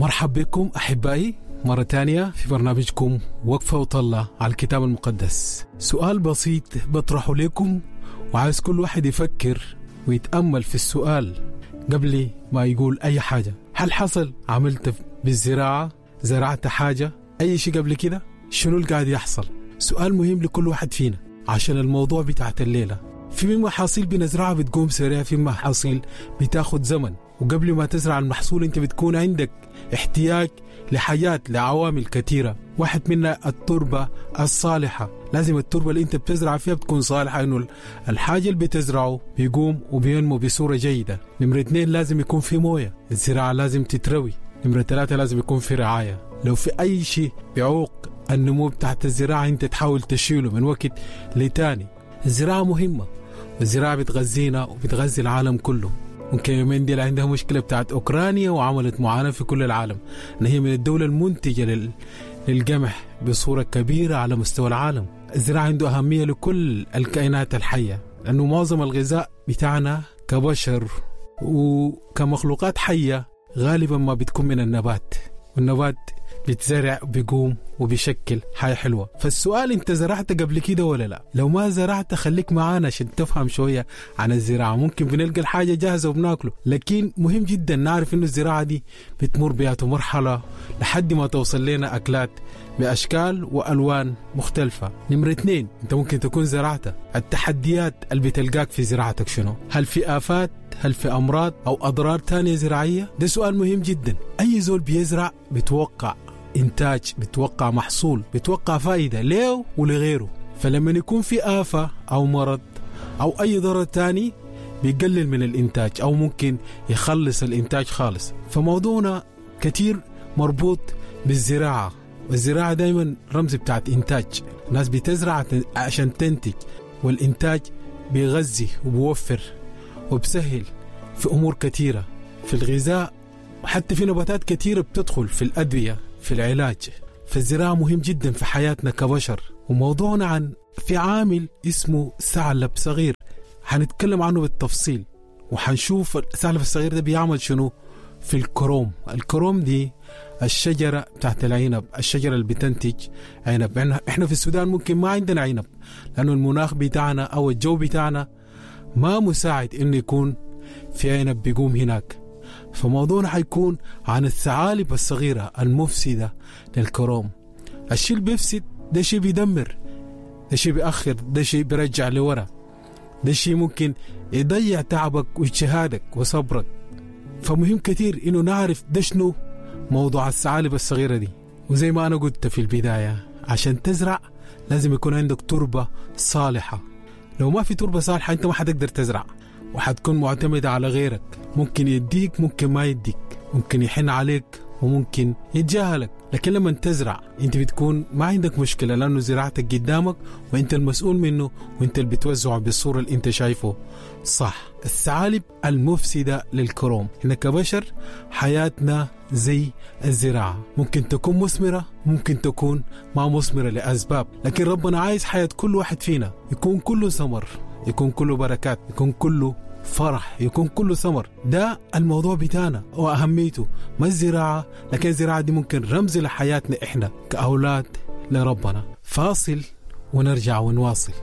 مرحب بكم أحبائي مرة تانية في برنامجكم وقفة وطلة على الكتاب المقدس. سؤال بسيط بطرحه لكم، وعايز كل واحد يفكر ويتأمل في السؤال قبل ما يقول أي حاجة. هل حصل عملت بالزراعة، زرعت حاجة، أي شيء قبل كده؟ شنو اللي قاعد يحصل؟ سؤال مهم لكل واحد فينا عشان الموضوع بتاعت الليلة. في محاصيل بنزرعها بتقوم سريع، في محاصيل بتاخد زمن، وقبل ما تزرع المحصول انت بتكون عندك احتياج لحاجات، لعوامل كثيرة. واحد منها التربة الصالحة. لازم التربة اللي انت بتزرع فيها بتكون صالحة، انه الحاجة اللي بتزرعه بيقوم وبينمو بصورة جيدة. نمرة 2 لازم يكون في موية، الزراعة لازم تتروي. نمرة 3 لازم يكون في رعاية. لو في اي شيء بيعوق النمو بتاعت الزراعة انت تحاول تشيله من وقت لتاني. الزراعة مهمة، الزراعة بتغذينا وبتغذي العالم كله. ممكن يومين دي عندها مشكلة بتاعت أوكرانيا وعملت معاناة في كل العالم، إن هي من الدولة المنتجة للقمح بصورة كبيرة على مستوى العالم. الزراعة عنده أهمية لكل الكائنات الحية، لأنه معظم الغذاء بتاعنا كبشر وكمخلوقات حية غالبا ما بتكون من النبات، والنبات بيتزرع بيقوم وبيشكل حياة حلوة. فالسؤال، انت زرعت قبل كده ولا لا؟ لو ما زرعت خليك معانا عشان تفهم شوية عن الزراعة. ممكن بنلقى الحاجة جاهزة وبناكله، لكن مهم جدا نعرف انه الزراعة دي بتمر بياته مرحلة لحد ما توصل لنا أكلات بأشكال وألوان مختلفة. نمرة 2، انت ممكن تكون زرعتها، التحديات اللي بتلقاك في زراعتك شنو؟ هل في آفات؟ هل في أمراض أو أضرار تانية زراعية؟ ده سؤال مهم جدا. أي زول بيزرع بتوقع إنتاج، بتوقع محصول، بتوقع فائدة ليه ولغيره. فلما يكون في آفة أو مرض أو أي ضرر تاني بيقلل من الإنتاج أو ممكن يخلص الإنتاج خالص. فموضوعنا كتير مربوط بالزراعة، والزراعة دايما رمز بتاعت إنتاج. الناس بتزرع عشان تنتج، والإنتاج بيغذي وبيوفر وبسهل في أمور كثيرة، في الغذاء، وحتى في نباتات كثيرة بتدخل في الأدوية، في العلاج. فالزراعة مهم جدا في حياتنا كبشر. وموضوعنا عن في عامل اسمه ثعلب صغير، هنتكلم عنه بالتفصيل، وحنشوف الثعلب الصغير ده بيعمل شنو في الكروم. الكروم دي الشجرة بتاعت العنب، الشجرة اللي بتنتج عنب. احنا في السودان ممكن ما عندنا عنب، لأنه المناخ بتاعنا أو الجو بتاعنا ما مساعد إنه يكون في عنب بيقوم هناك. فموضوعنا حيكون عن الثعالب الصغيرة المفسدة للكروم. الشيء اللي بيفسد ده شيء بيدمر، ده شيء بيأخر، ده شيء بيرجع لورا، ده شيء ممكن يضيع تعبك واجتهادك وصبرك. فمهم كثير إنه نعرف ده شنو موضوع الثعالب الصغيرة دي. وزي ما أنا قلت في البداية، عشان تزرع لازم يكون عندك تربة صالحة. لو ما في تربة صالحة أنت ما حتقدر تزرع، وحتكون معتمدة على غيرك. ممكن يديك، ممكن ما يديك، ممكن يحن عليك وممكن يتجاهلك. لكن لما تزرع انت بتكون ما عندك مشكلة، لأنه زراعتك قدامك وانت المسؤول منه وانت اللي بتوزعه بالصورة اللي انت شايفه صح. الثعالب المفسدة للكروم. احنا كبشر حياتنا زي الزراعة، ممكن تكون مثمرة، ممكن تكون ما مثمرة لأسباب، لكن ربنا عايز حياة كل واحد فينا يكون كله ثمر، يكون كله بركات، يكون كله فرح، يكون كله ثمر. ده الموضوع بتاعنا وأهميته، ما الزراعة، لكن الزراعة دي ممكن رمز لحياتنا إحنا كأولاد لربنا. فاصل ونرجع ونواصل.